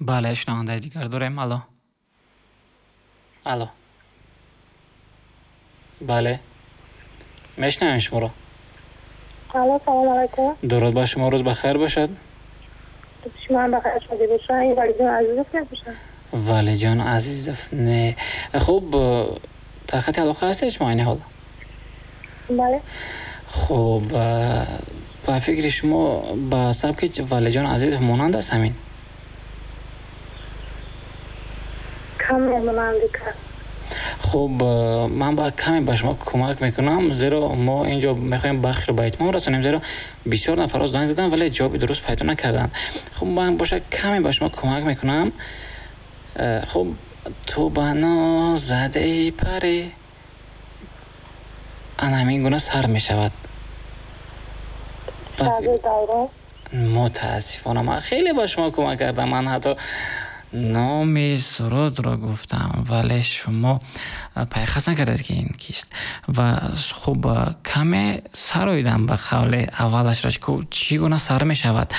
Бале, шунавандаи дигар дорем. Алло, алло, бале, мешунавем шуморо. Алло, салом алайкум. Дуруд ба шумо, рӯз бахайр бошад. Шумо ҳам бахайр шуда бошед. Ин Валиҷон Азизов мебошад? Валиҷон Азизов не. Хуб, дар хати алоқа ҳастед шумо айни ҳол? Бале. Хуб, ба фикри шумо ба сабки Валиҷон Азизов монанд аст ҳамин? Каме монанди кард. Хуб, ман ба каме ба шумо кӯмак мекунам, зеро мо инҷо мехоҳем бахшро ба итмом расонем, зеро бисёр нафарҳо занг заданд, вале ҷавоби дуруст пайдо накарданд. Хуб, ман бошад каме ба шумо кӯмак мекунам. Хуб, ту ба ноз задаи парӣ, ана ҳамин гуна сар мешавад. Мутаассифона, ман хеле ба шумо кӯмак кардам, ман ҳатто номи сурудро гуфтам, вале шумо пайхас накардед, ки ин кист. Ва хуб, каме сароидам ба қавли аввалашро, чӣ гуна сар мешавад.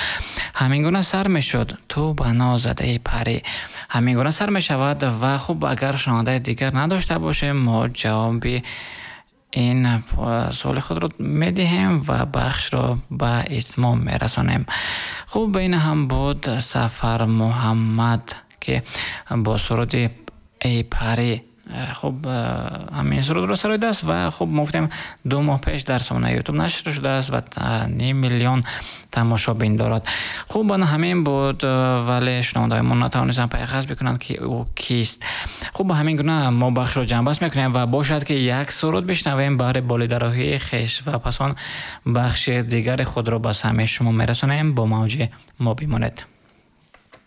Ҳамин гуна сар мешуд: ту ба ноз задаи парӣ. Ҳамин гуна сар мешавад. Ва хуб, агар шунавандаи дигар надошта бошем, мо ҷавоби ин суоли худро медиҳем ва бахшро ба итмом мерасонем. Хуб, ин ҳам буд Сафар Муҳаммад, ки бо суруди Эй парӣ, хуб, ҳамин сурудро сароидааст. Ва хуб, мо гуфтем, 2 моҳ пеш дар сомонаи Ютуб нашр шудааст ва ним миллион тамошобин дорад. Хуб, ана ҳамин буд, вале шунавандаҳои мо натавонистанд пайхас бикунанд, ки ӯ кист. Хуб, ба ҳамин гуна мо бахшро ҷамъбаст мекунем ва бошад, ки як суруд бишнавем баҳри болидароҳии хеш ва пас он бахши дигари худро ба самъи шумо мерасонем. Бо мавҷи мо бимонед.